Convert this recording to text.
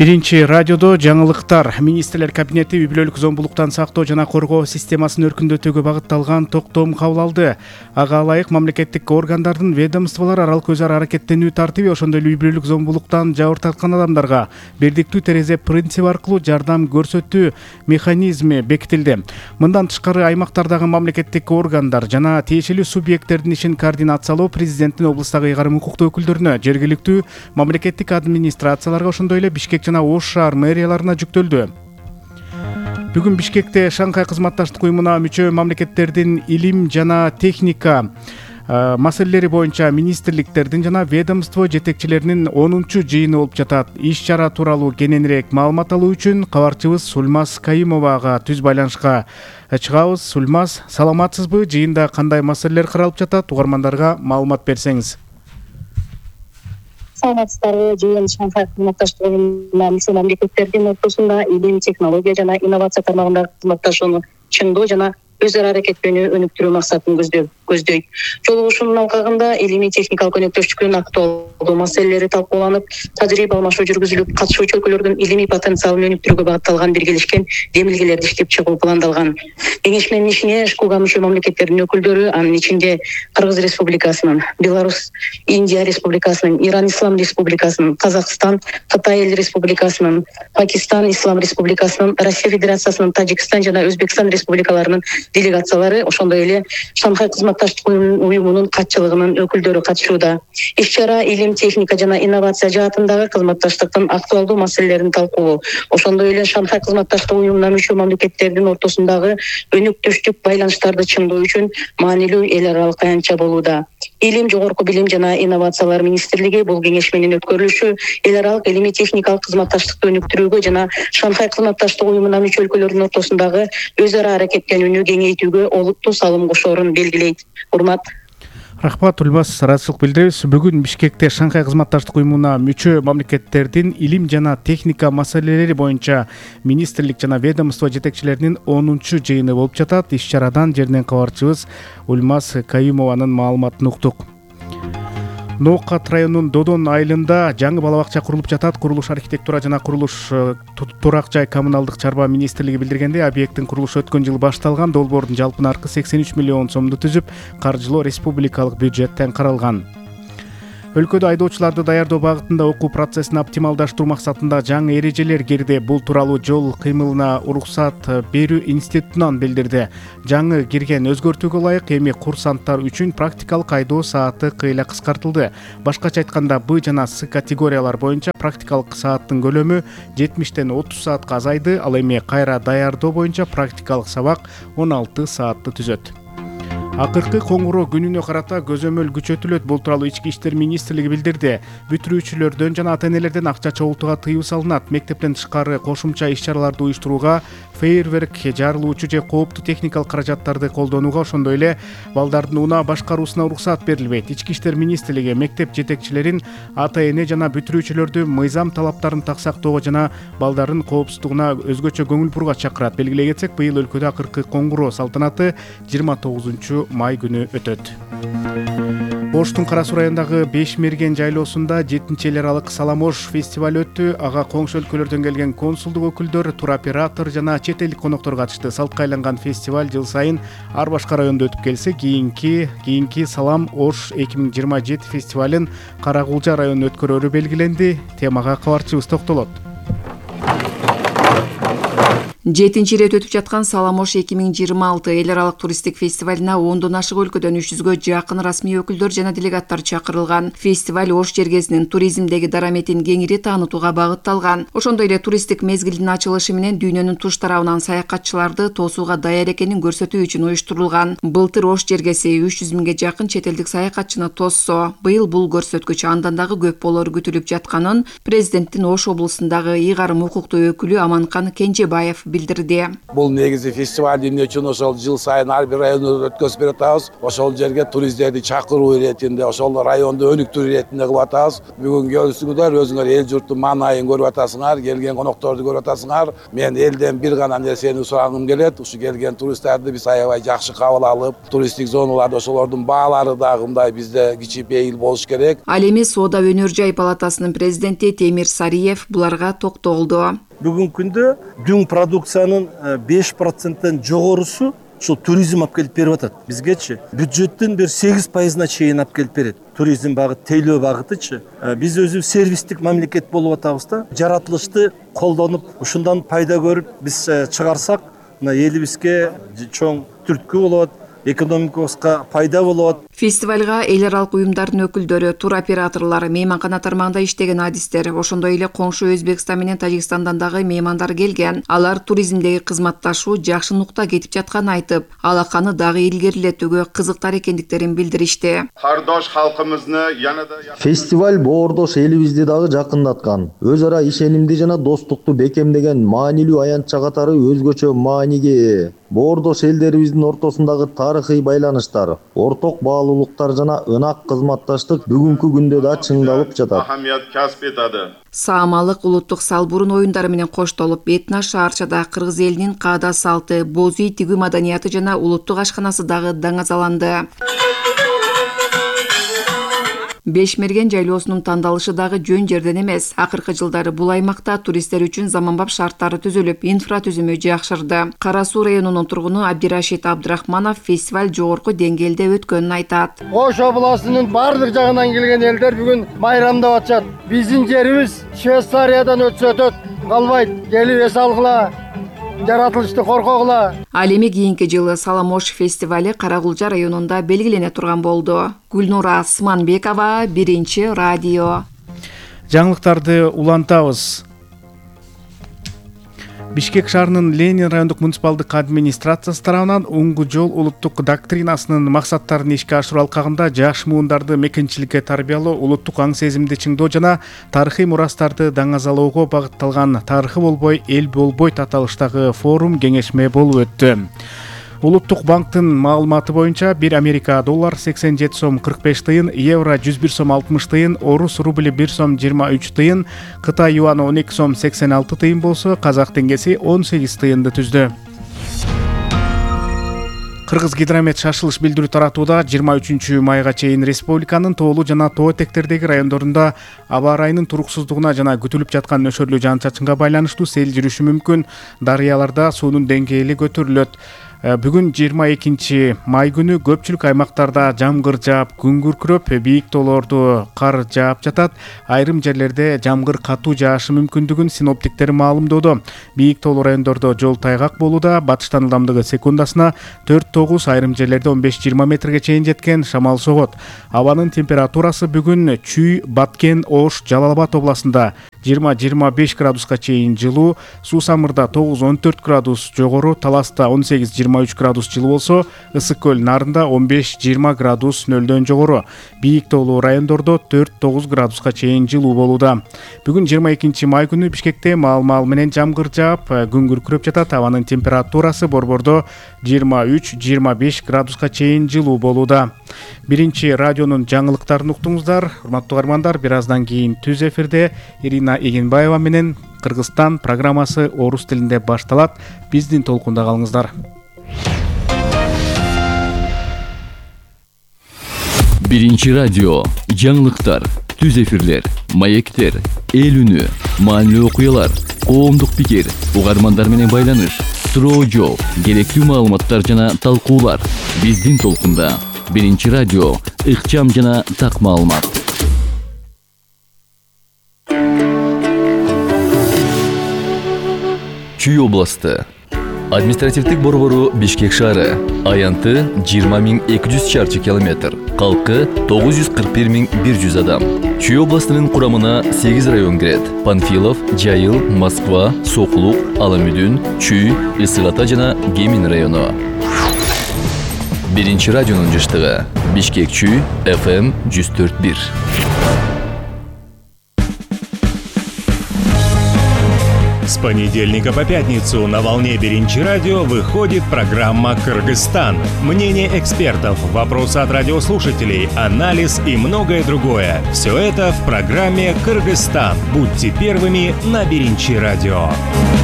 Биринчи радиодо жаңылыктар. Министрлер кабинети үй бүлөлүк зомбулуктан сактоо жана коргоо системасын өркүндөтүүгө багытталган токтом кабыл алды. Ага ылайык мамлекеттик органдардын ведомстволор аралык өз ара аракеттенүү тартиби, ошондой эле үй бүлөлүк зомбулуктан жабыр тарткан адамдарга бирдиктүү терезе принциби аркылуу жардам көрсөтүү механизми бекитилди. Мындан тышкары аймактардагы мамлекеттик органдар жана тиешелүү субъекттердин ишин координациялоо президенттин облустагы ыйгарым укуктуу өкүлдөрүнө, жергиликтүү мамлекеттик администрацияларга, ошондой эле Бишкек жана Ош шаар мэрияларына жүктөлдү. Бүгүн Бишкекте Шанхай кызматташтык уюмуна мүчө мамлекеттердин илим жана техника маселелери боюнча министрликтердин жана ведомство жетекчилеринин 10-чу жыйыны болуп жатат. Иш-чара тууралуу кененирээк маалымат алуу үчүн кабарчыбыз Сулмаз Кайымовага түз байланышка чыгабыз. Сулмаз, саламатсызбы? Жыйында кандай маселелер каралып жатат? Угармандарга маалымат берсеңиз. Саламатсыздарбы? Жыйын Шанхай кызматташтык уюмуна мүчө мамлекеттердин ортосунда илим, технология жана инновация тармагындагы кызматташууну чыңдоо жана өз ара аракеттенүүнү өнүктүрүү максатын көздөйт. Жолугушуунун алкагында илимий техникалык өнөктөштүктүн актуалдуу маселелери талкууланып, тажрыйба алмашуу жүргүзүлүп, катышуучу өлкөлөрдүн илимий потенциалын өнүктүрүүгө багытталган биргелешкен демилгелерди иштеп чыгуу пландалган. Кеңешменин ишине ШКУга мүчө мамлекеттердин өкүлдөрү, анын ичинде Кыргыз Республикасынын, Беларусь, Индия Республикасынын, Иран Ислам Республикасынын, Казакстан, Кытай Эл Республикасынын, Пакистан Ислам Республикасынын, Россия Федерациясынын, Тажикстан жана Өзбекстан республикаларынын делегациялары, ошондой эле Шанхай кызматташтык уюмунун катчылыгынын өкүлдөрү катышууда. Иш-чара илим, техника жана инновация жаатындагы кызматташтыктын актуалдуу маселелерин талкуулоо, ошондой эле Шанхай кызматташтык уюмуна мүчө мамлекеттердин ортосундагы өнөктөштүк байланыштарды чыңдоо үчүн маанилүү эл аралык аянтча болууда. Илим, жогорку билим жана инновациялар министрлиги бул кеңешменин өткөрүлүшү эл аралык илимий техникалык кызматташтыкты өнүктүрүүгө жана Шанхай кызматташтык уюмуна мүчө өлкөлөрдүн ортосундагы өз ара аракеттенүүнү кеңейтүүгө олуттуу салым кошоорун белгилейт. Урмат. Рахмат, Улбас, ыраазычылык билдиребиз. Бүгүн Бишкекте Шанхай кызматташтык уюмуна мүчө мамлекеттердин илим жана техника маселелери боюнча министрлик жана ведомство жетекчилеринин 10-чу жыйыны болуп жатат. Иш-чарадан жерден кабарчыбыз Улмаз Кайымованын маалыматын уктук. Ноокат районунун Додон айылында жаңы бала бакча курулуп жатат. Курулуш архитектура жана курулуш турак жай коммуналдык чарба министрлиги билдиргендей, объекттин курулушу өткөн жылы башталган. Долбоордун жалпы наркы 83 миллион сомду түзүп, каржылоо республикалык бюджеттен каралган. Өлкөдө айдоочуларды даярдоо багытында окуу процессин оптималдаштыруу максатында жаңы эрежелер кирди. Бул тууралуу жол кыймылына уруксат берүү институтунан билдирди. Жаңы кирген өзгөртүүгө ылайык эми курсанттар үчүн практикалык айдоо сааты кыйла кыскартылды. Башкача айтканда, Б жана С категориялар боюнча практикалык сааттын көлөмү 70-тен 30 саатка азайды, ал эми кайра даярдоо боюнча практикалык сабак 16 саатты түзөт. Акыркы коңгуроо күнүнө карата көзөмөл күчөтүлөт. Бул тууралуу Ички иштер министрлиги билдирди. Бүтүрүүчүлөрдөн жана ата-энелерден акча чогултууга тыюу салынат. Мектептен тышкары кошумча иш-чараларды уюштурууга, фейерверк, жарылуучу же кооптуу техникалык каражаттарды колдонууга, ошондой эле балдардын унаа башкаруусуна уруксат берилбейт. Ички иштер министрлиги мектеп жетекчилерин ата-эне жана бүтүрүүчүлөрдү мыйзам талаптарын так сактоого жана балдардын коопсуздугуна өзгөчө көңүл бурууга чакырат. Белгилей кетсек, быйыл өлкөдө акыркы коңгуроо салтанаты 29 май күнү өтөт. Оштун Кара Суу районундагы Бешмерген жайлоосунда 7-чи эл аралык Салам Ош фестиваль өттү. Ага коңшу өлкөлөрдөн келген консулдук өкүлдөр, туроператор жана чет элдик коноктор катышты. Салтка айланган фестиваль жыл сайын ар башка райондо өтүп келсе, кийинки Салам Ош 2027 фестивалын Каракулжа районунда өткөрөөрү белгиленди. Темага кабарчыбыз токтолот. 7-нчи ирет өтүп жаткан Салам Ош 2026 эл аралык туристтик фестивалына 10дон ашык өлкөдөн 300гө жакын расмий өкүлдөр жана делегаттар чакырылган. Фестиваль Ош жергесинин туризмдеги дараметин кеңири таанытууга багытталган. Ошондой эле туристтик мезгилдин ачылышы менен дүйнөнүн туш тарабынан саякатчыларды тосууга даяр экенин көрсөтүү үчүн уюштурулган. Былтыр Ош жергеси 300 миңге жакын чет элдик саякатчыны тоссо, быйыл бул көрсөткүч андан дагы көп болору күтүлүп жатканын президенттин Ош облусундагы ыйгарым укуктуу өкүлү Аманкан Кенжебаев билдирди. Бул негизи фестиваль эмне үчүн ошол жыл сайын ар бир райондо өткөзүп бератабыз. Ошол жерге туристтерди чакыруу иретинде, ошол районду өнүктүрүү иретинде кылып атабыз. Бүгүн келиңиздер, өзүңөр эл журттун маанайын көрүп атасыңар, келген конокторду көрүп атасыңар. Мен элден бир гана нерсени сурагым келет. Ушу келген туристтерди биз аябай жакшы кабыл алып, туристтик зоналарда ошолордун баалары дагы мындай бизде кичипейил болуш керек. Ал эми Соода өнөр жай палатасынын президенти Темир Сариев буларга токтолду. Бүгүнкү күндө дүң продукциянын 5%-тен жогорусу ушул туризм алып келип берип атат. Бизгечи бюджеттин бир 8%-на чейин алып келип берет. Туризм багыт, тейлөө багытычы. Биз өзүбүз сервистик мамлекет болуп атабыз да. Жаратылышты колдонуп, ушундан пайда көрүп биз чыгарсак, мына элибизге чоң түрткү болот, экономикабызга пайда болот. Фестивалга эл аралык уюмдардын өкүлдөрү, туроператорлор, мейманкана тармагында иштеген адистер, ошондой эле коңшу Өзбекстан менен Тажикстандан дагы меймандар келген. Алар туризмдеги кызматташуу жакшы нукта кетип жатканын айтып, алаканы дагы илгерилетүүгө кызыктар экендиктерин билдиришти. Кардош халкыбызны янада фестиваль боордош элибизди дагы жакындаткан. Өз ара ишенимди жана достукту бекемдеген маанилүү аянтча катары өзгөчө мааниге ээ. Боордош элдерибиздин ортосундагы тарыхый байланыштар, орток баалуулуктар жана ынак кызматташтык бүгүнкү күндө да чыңдалып жатат. Ахамият касп этadi. Саамалык улуттук салбурун оюндары менен коштолуп, этно шаарчада кыргыз элинин каада салты, боз үй тигүү маданияты жана улуттук ашканасы дагы даңазаланды. Бешмерген жайлоосунун тандалышы дагы жөн жерден эмес. Акыркы жылдары бул аймакта туристтер үчүн заманбап шарттары түзүлүп, инфратүзүмү жакшырды. Кара Суу районунун тургуну Абдирашид Абдрахманов фестиваль жогорку деңгээлде өткөнүн айтат. Ош областынын бардык жагынан келген элдер бүгүн майрамдап атышат. Биздин жерибиз Швейцариядан өтсө өтөт, калбайт. Келип эс алгыла, жаратылышты коркогула. Ал эми кийинки жылы Саламош фестивали Карагулжа районунда белгилене турган болду. Гүлнура Асманбекова, Биринчи радио. Жаңылыктарды улантабыз. Бишкек шаарынын Ленин райондук муниципалдык администрациясы тарабынан оңгу жол улуттук доктринасынын максаттарын ишке ашыруу алкагында жаш муундарды мекенчиликке тарбиялоо, улуттук аң сезимди чыңдоо жана тарыхый мурастарды даңазалоого багытталган «Тарыхы болбой, эл болбойт» аталыштагы форум кеңешме болуп өттү. Улуттук банктын маалыматы боюнча 1 Америка доллар 87 сом 45 тыйын, евро 101 сом 60 тыйын, орус рубли 1 сом 23 тыйын, Кытай юаны 12 сом 86 тыйын болсо, казак теңгеси 18 тыйынды түздү. Кыргыз гидромет шашылыш билдирүү таратууда 23 майга чейин республиканын тоолуу жана тоо этектердеги райондорунда аба ырайынын туруксуздугуна жана күтүлүп жаткан нөшөрлүү жаан-чачынга байланыштуу сел жүрүшү мүмкүн. Дарыяларда суунун деңгээли көтөрүлөт. Бүгүн 22 май күнү көпчүлүк аймактарда жамгыр жаап, күн күркүрөп, бийик тоолорду кар жаап жатат. Айрым жерлерде жамгыр катуу жаашы мүмкүндүгүн синоптиктер маалымдоодо. Бийик тоолуу райондордо жол тайгак болууда. Батыштан ылдамдыгы секундасына 4-9, айрым жерлерде 15-20 метрге чейин жеткен шамал согот. Абанын температурасы бүгүн Чүй, Баткен, Ош, Жалал Абад областында 20-25 градуска чейин жылуу, Суусамырда 9-14 градус жогору, Таласта 18-23 градус жылуу болсо, Ысык көл Нарында 15-20 градус нөлдөн жогору. Бийик тоолуу райондордо 4-9 градуска чейин жылуу болууда. Бүгүн 22 май күнү Бишкекте маал менен жамгыр жаап, күн күркүрөп жатат. Абанын температурасы борбордо 23-25 градуска чейин жылуу болууда. Биринчи радионун жаңылыктарын уктуңуздар. Урматтуу угармандар, бир аздан кийин түз эфирде Ирина Эгенбаева менен Кыргызстан программасы орус тилинде башталат. Биздин толкунда калыңыздар. Биринчи радио, жаңылыктар, түз эфирлер, маектер, эл үнү, маанилүү окуялар, коомдук пикир, угармандар менен байланыш, суроо жооп, керектүү маалыматтар жана талкуулар. Биздин толкунда. Биринчи радио, ыкчам жана так маалымат. Чүй областы. Административдик борбору Бишкек шаары. Аянты 20.200 чарчы километр. Калкы 941.100 адам. Чүй областынын курамына 8 район кирет. Панфилов, Жайыл, Москва, Соклук, Аламүдүн, Чүй, Ысык Ата жана Кемин району. Биринчи радионун жыштыгы. Бишкек Чүй, FM 104.1. понедельника по пятницу на волне Биринчи радио выходит программа «Кыргызстан». Мнение экспертов, вопросы от радиослушателей, анализ и многое другое. Все это в программе «Кыргызстан». Будьте первыми на Биринчи радио.